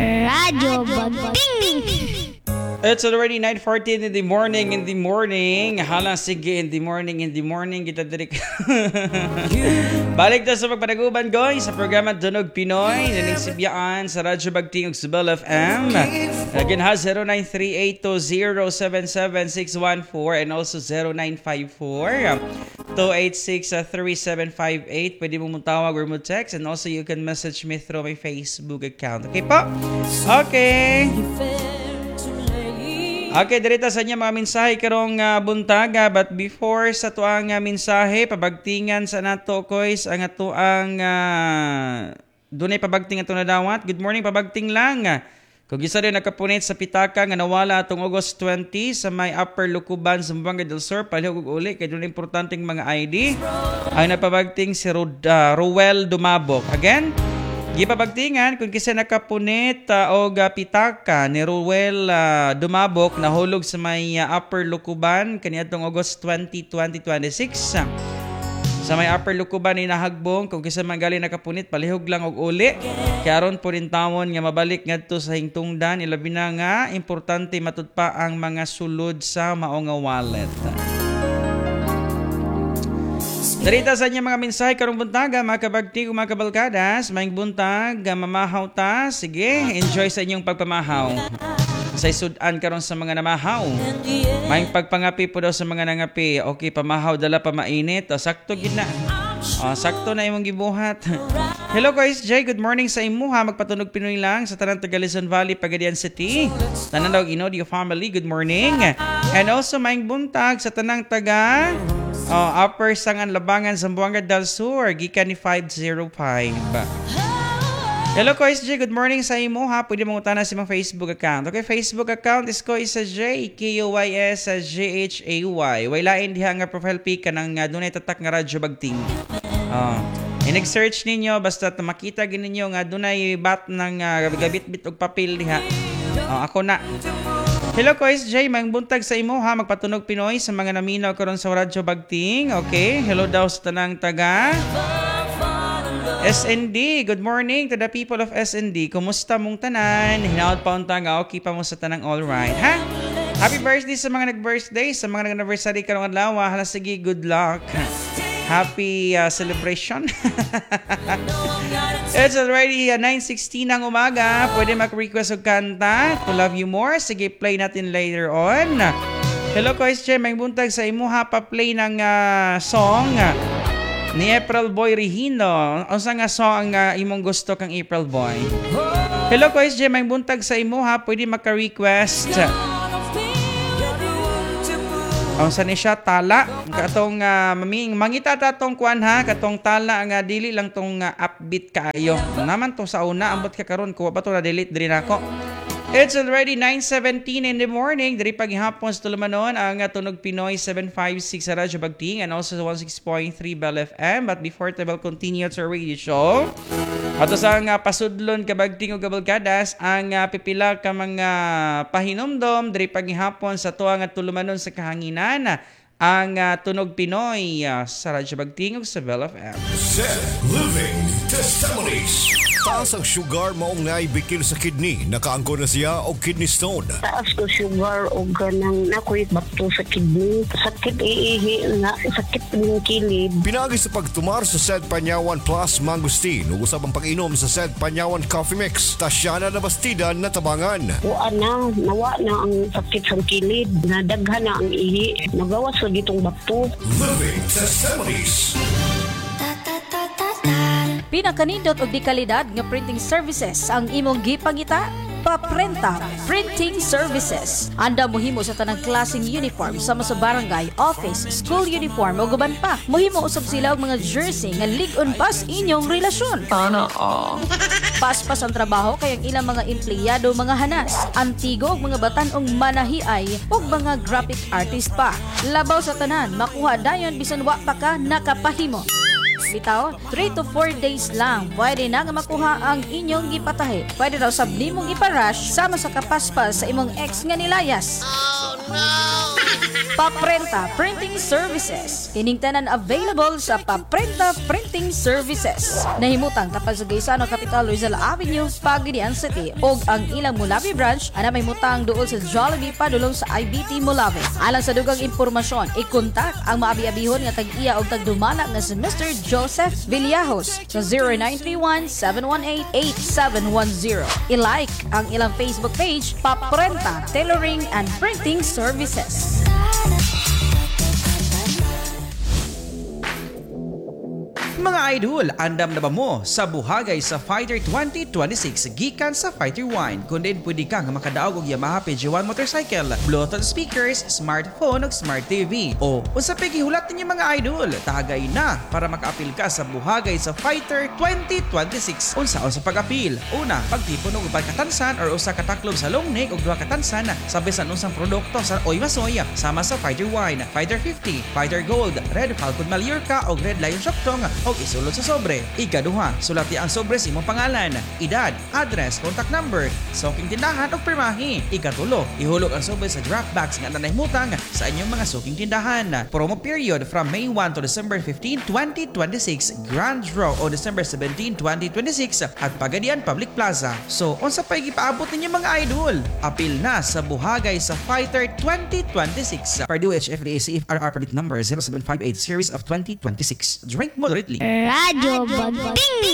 Radyo Bagting! It's already 9:14 in the morning, in the morning. Hala, sige, in the morning, in the morning. Kita diri. Balik ta sa pagpanaguban, guys, sa programa Tunog Pinoy. Naning Sibyaan sa Radyo Bagting ug sa Bell FM. Again, ha, 0938-2077614 and also 0954-286-3758. Pwede mo mong tawag or mo text and also you can message me through my Facebook account. Okay po? Okay. Okay, direta sa inyo mga mensahe karong buntaga, but before sa tuang mensahe, pabagtingan sa nato, koys, ang atuang dunay pabagting ato nadawat. Good morning, pabagting lang. Kung isa rin nakapunit sa pitaka nga nawala atong August 20 sa may Upper Lukuban, Zamboanga del Sur, palihog og uli kay dunay importanteng mga ID. Ang napabagting si Ruel Dumabok. Again, gipabagtingan kung kisa nakapunit og pitaka ni Ruel Dumabok, nahulog sa may Upper Lukuban kaniadtong August 20, 2026. Sa may Upper Lukuban ni nahagbong, kung kisa man gali nakapunit, palihog lang og uli. Kay aron po rin tawon nga mabalik ngadto sa hingtungdan, ilabi na nga importante matud pa ang mga sulod sa mao nga wallet. Darita sa inyo mga mensahe karong buntaga, mga kabagti ug mga kabalkadas, maayong buntag, mamahaw ta, sige, enjoy sa inyong pagpamahaw. Sa sudan karon sa mga namahaw. Maayong pagpangapi po daw sa mga nangapi. Okay, pamahaw dala pa mainit. O, sakto gid na. O, sakto na imong gibuhat. Hello guys, Jay, good morning sa imuha. Magpatunog Pinoy lang sa tanang taga Luzon Valley, Pagadian City. Tanan daw Inodio family, good morning. And also maayong buntag sa tanang taga, oh, Upper Sangan Labangan, Zamboanga del Sur, gikan ni 505. Hello ko SJ, good morning sa imo ha. Pwede mo utana sa imong Facebook account. Okay, Facebook account is ko isa J K O Y S G H A Y. Way lain diha nga profile pic kanang dunay tatak nga Radyo Bagting. Oh. I-search ninyo basta makita gid ninyo nga dunay bat ng gabit-bit og papel diha. Oh, ako na. Hello ko SJ, maayong buntag sa imo ha. Magpatunog Pinoy sa mga naminaw karon sa Radyo Bagting. Okay, hello daw sa tanang taga SND. Good morning to the people of SND. Kumusta mong tanan? Hinaot pa unta nga okay pa mo sa tanang all right, ha? Happy birthday sa mga nag-birthday, sa mga nag-anniversary karong adlaw. Hala sige, good luck. Happy celebration. It's already 9:16 ng umaga. Pwede mag-request og kanta to Love You More. Sige, play natin later on. Hello, ko SJ. Maayong buntag sa imo ha. Pa-play ng song ni April Boy Regino. Unsa nga song ang imong gusto kang April Boy? Hello ko SJ, maayong buntag sa imo ha. Pwede maka-request. Unsa ni siya, Tala? Katong maming mangita ta tong kuan ha, katong Tala nga dili lang tong upbeat kaayo. Naman to sa una, ambot ka karon kuha pa to na delete diri nako. It's already 9:17 in the morning. Diri paghapon sa tulumanon ang Tunog Pinoy 756 sa Radyo Bagting and also 16.3 Bell FM. But before ta will continue to our radio show, ato sa nga pasudlon, kabagting ug kabalkadas, ang pipila ka mga pahinumdom diri paghapon sa tuwa nga tulumanon sa kahanginan ang Tunog Pinoy sa Radyo Bagting ug sa Bell FM. Set Living Testimonies. Taas ang sugar maong naay bikil sa kidney. Nakaangko na siya og kidney stone. Taas ko sugar o ganang nakoy bato sa kidney. Sakit iihi na, sakit ng kilid. Pinagi sa pagtumar sa Sed Panyawan Plus Mangosteen ug usab ang pag-inom sa Sed Panyawan Coffee Mix. Tasyana na Bastida natabangan. Wa na, nawa na ang sakit sa kilid. Nadaghan na ang ihi. Nagawas lagi itong bato. Living Testimonies. Pinakanindot og di kalidad nga printing services ang imong gipangita? Paprenta Printing Services. Anda mohimo sa tanang klaseng uniform sama sa barangay, office, school uniform ug uban pa. Mohimo usab sila og mga jersey nga lig-on pa sa inyong relasyon. Sana all. Paspas ang trabaho kay ang ilang mga empleyado mga hanas, antigo og mga batan-ong manahiay ug mga graphic artist pa. Labaw sa tanan, makuha dayon bisan wa pa ka nakapahimo. Bitaw, 3 to 4 days lang pwede na nga makuha ang inyong gipatahi. Pwede raw sab nimong ipa-rush sama sa kapaspas sa imong ex nga nilayas. Oh. Paprenta Printing Services. Kining tanan available sa Paprenta Printing Services. Nahimutang tapad sa Gaisano Capital, Rizal Avenue, Pagadian City. Og ang ilang Molave branch ana mahimutang duol sa Jollibee padulong sa IBT Molave. Alang sa dugang impormasyon, i-contact ang maabi-abihon nga tag-iya og tagdumala nga si Mr. Joseph Villajos sa 0931-718-8710. I-like ang ilang Facebook page, Paprenta Tailoring and Printing Services. Mga idol, andam na ba mo sa buhagay sa Fighter 2026 gikan sa Fighter 1? Kundi pwede ka nga makadaog og Yamaha PG1 motorcycle, Bluetooth speakers, smartphone ug smart TV. O unsa pay gihulat ninyo, mga idol? Tagay na para makaapil ka sa buhagay sa Fighter 2026. Unsa sa pag-apil? Una, pagtipon og uban katansan or usa ka taklob sa long neck ug duha ka tansan sa bisan unsang produkto sa Oy Masoy sama sa Fighter Wine, Fighter 50, Fighter Gold, Red Falcon Mallorca o Red Lion Sioktong og isulod sa sobre. Ikaduha, sulati ang sobre sa imong pangalan, edad, address, contact number, suking tindahan ug pirmahi. Ikatulo, ihulog ang sobre sa drop box nga nahimutang sa inyong mga suking tindahan. Promo period from May 1 to December 15, 2026. Grand draw o December 17, 2026 at Pagadian Public Plaza. So, unsa pay gipaabot ninyo, mga idol? Apil na sa buhagay sa Fighter 2026. Purdue HFDA CFRR permit number 0758 series of 2026. Drink moderately. Radyo Bagting.